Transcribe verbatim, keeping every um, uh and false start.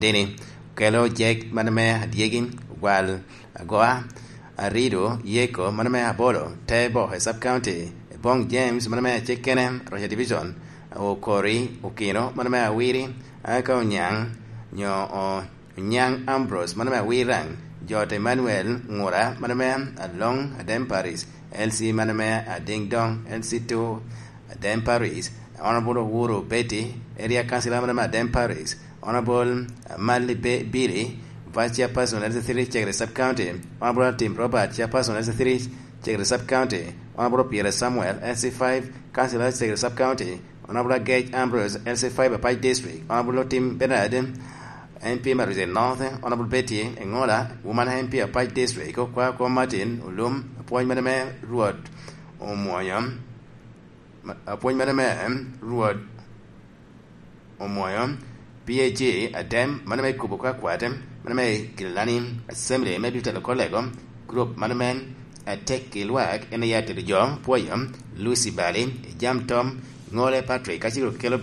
Dini, okelo Jek mano me adyegi, Gwal Agoa, Arido Yeko mano me Abolo, Tebo i Sub County, Ebong James mano me Acekene, Roca Division, Okori Okino mano me Awiri, aka Onyang nyo o- Onyaŋ Ambrose mano me Awirang, Jot Emmanuel Ŋura mano me Aloŋ Adem Paris, L C mano me Adingdong, L C two Adem Paris, Honorable Owuru Betty, Area Councilor mano me Adem Paris, Honorable Mali Be- Billy, Vice Chairperson L C three Chegre Sub County, Honorable Tim Robert, Chairperson L C three Chegre Sub County, Honorable Pierre Samuel, L C five Councilor Chegre Sub County, Honorable Agec Ambrose, L C five Apac District, Honorable Otim Bernard, M P Maruze North, Honorable Betty Engola, Woman M P Apac District, Okwakwa Martin Olum, apwony mene me Rwot Omwoyo, ma- apwony mene me Rwot Omwoyo, P A G Adem, mano me kubo kwakwat, mano me Gilani Assembly, me Dutalo Kolego, group mano me Atek i Lwak, en aye atito jo, pwoyo, Lucy Bali, Jam Tom, Ŋole Patrick, kacel kelo